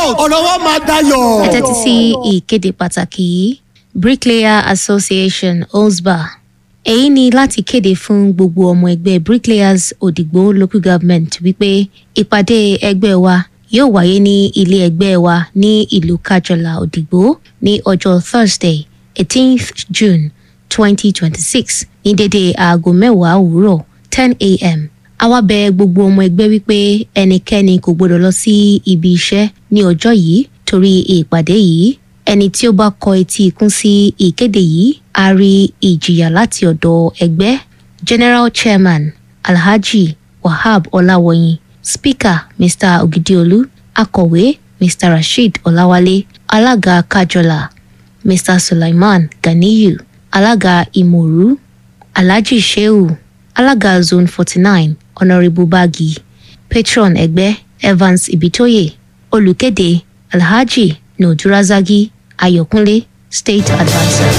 South, ọ̀rọ̀ wa máa dayọ̀. Ẹ tẹ́tí sí ìkéde pàtàkì yìí. Bricklayer Association, OSBA. Èyí ni láti kéde fún gbogbo ọmọ ẹgbẹ́ Bricklayers Òdìgbò Local Government wípé ìpàdé ẹgbẹ́ wa yóò wáyé ní ilé ẹgbẹ́ wa ní ìlú Kájọlà, Òdìgbò, ní ọjọ́ Thursday, 18th June 2026, ní dédé aago 10 òwúrọ̀, 10 a.m. A wá bẹ̀ gbogbo ọmọ ẹgbẹ́ wípé ẹnikẹ́ni kò gbọdọ̀ lọ sí ibi iṣẹ́ ní ọjọ́ yìí torí ìpàdé yìí. Ẹni tí ó bá kọ etí ikún sí ìkéde yìí á rí ìjìyà láti ọ̀dọ̀ ẹgbẹ́. General Chairman, Alhaji Wahab Ọláwọyìn; Speaker, Mr Ogidiolu; Akọ̀wé, Mr Rasheed Ọláwálé; Alága Kájọlà, Mr Sulaiman Ganiyu; Alága Ìmọ̀rú, Alhaji Shehu; Alága Zone 49, Honourable Bagi; Patron ẹgbẹ́, Evans Ibitoye. Olùkéde, Alhaji Nodirazagi Ayọ̀kúnlé, State Adviser.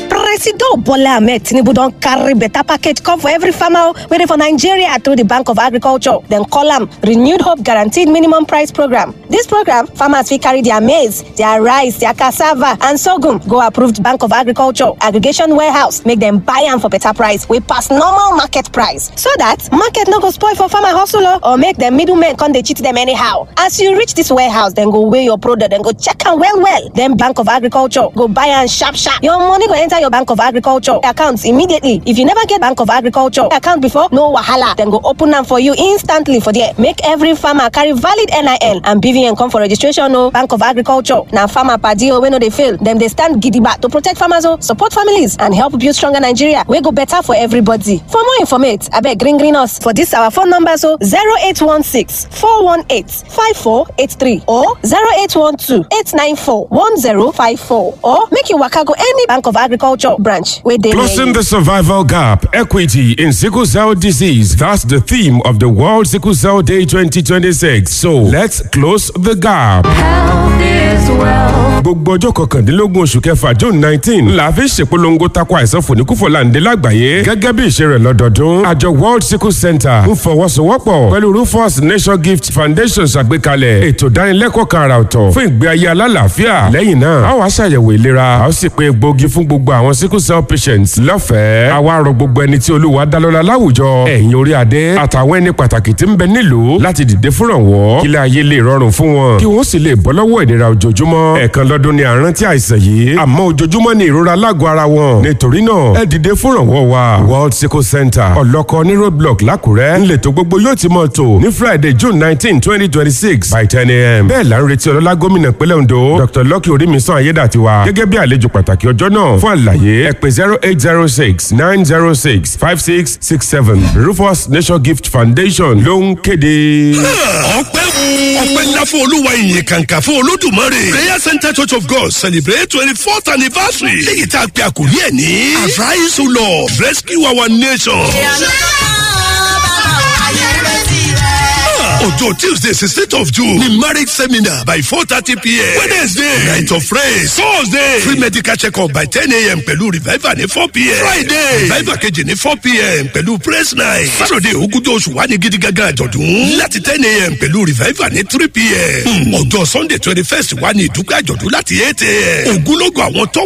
Presido Bola Ahmed Tinubu don carry better package come for every farmer wey dey for Nigeria through the Bank of Agriculture. Dem call am Renewed Hope Guaranteed Minimum Price Program. This program, farmers fit carry their maize, their rice, their cassava and sorghum go approved Bank of Agriculture aggregation warehouse, make dem buy am for better price wey pass normal market price, so that market no go spoil for farmer hustle o, or make dem middlemen come dey cheat dem anyhow. As you reach this warehouse, dem go weigh your product, dem go check am well well. Then Bank of Agriculture go buy am sharp sharp. Your money go enter your Bank of Agriculture account immediately. If you never get Bank of Agriculture account before, no wahala. Dem go open am for you instantly for there. Make every farmer carry valid NIN and BVN come for registration o. Bank of Agriculture na farmer padi o wey no dey fail. Dem dey stand gidigba to protect farmers o, support families and help build stronger Nigeria wey go better for everybody. For more informate, abeg green green us for this our phone numbers o: 0816 418 5483 or 0812 894 1054, or make you waka go any Bank of Agriculture branch wey dey near Closing you. the survival gap, equity in sickle cell disease. That's the theme of the World Sickle Cell Day 2026. So let's close the gap. Health is wealth. Gbogbo ọjọ́ 19 oṣù kẹfà, June 19, la fi ṣèpolongo tako àìsàn fòníkúfọ̀láǹdé lágbàáyé. Gẹ́gẹ́ bí ìṣe rẹ̀ lọ́dọọdún, àjọ World Sickle Center ń fọwọ́sowọ́pọ̀ pẹ̀lú Rufus Nation Gift Foundation ṣàgbékalẹ̀ ètò ìdánilẹ́kọ̀ọ́ kan àrà ọ̀tọ̀ fún ìgbé ayé alálàáfíà. Lẹ́yìn náà, a wá ṣàyẹ̀wò ìlera, a ó sì pé egbòogi fún gbogbo àwọn sickle cell patients lọ́fẹ̀ẹ́. A wá rọ gbogbo ẹni tí Olúwa dá lọ́lá láwùjọ, ẹ̀yin orí adé àtàwọn ẹni pàtàkì tí ń bẹ nílùú, láti dìde fúnrànwọ́ kí ilé ayé lè rọrùn fún wọn, kí wọ́n sì lè bọ́ lọ́wọ́ ìnira ojoojúmọ́. Ẹ̀ẹ̀kan lọ́dún ni àrántí àìsàn yìí, àmọ́ ojoojúmọ́ ni ìrora lágọ̀ọ́ ara wọn. Nítorí náà, ẹ dìde fúnrànwọ́ wa. World Sickle Center, Ọ̀lọ́kọ ní Roadblock lákùrẹ́ ńlẹ̀tọ̀ gbogbo yóò ti mọ̀ tó ní Friday, June 19, 2026 by 10 a.m. Bẹ́ẹ̀ là ń retí ọlọ́lá gómìnà ìpínlẹ̀ Ondo, Dr Lucky Orímisan Ayédàtiwa, gẹ́gẹ́ bí àlejò pàtàkì ọjọ́ náà. Fún àlàyé, ẹ pè 08069065667. Rufus Nation Gift Foundation ló ń kéde. Ọpẹ́, ọpẹ́ ńlá fún Olúwa, ìyìn kàǹkà fún Olódùmarè. Prayer Center Church of God celebrate 24th anniversary, léyìí tá a pe àkòrí ẹ̀ ní "Arise, O Lord, rescue our nation". Ọjọ́ Tuesday, 16th of June ni marriage seminar by 4:30 p.m. Wednesday, night of praise. Thursday, free medical check-up by 10 a.m. pẹ̀lú revival ní 4 p.m. Friday, revival kejì ní 4 p.m. pẹ̀lú praise night. Saturday, ogúnjọ́ oṣù wa ní gidi gangan àjọ̀dún láti 10 a.m. pẹ̀lú revival ní 3 p.m. Ọjọ́ Sunday, 21st wa ní ìdúpẹ́ àjọ̀dún láti 8 a.m. Ògúnlógún àwọn top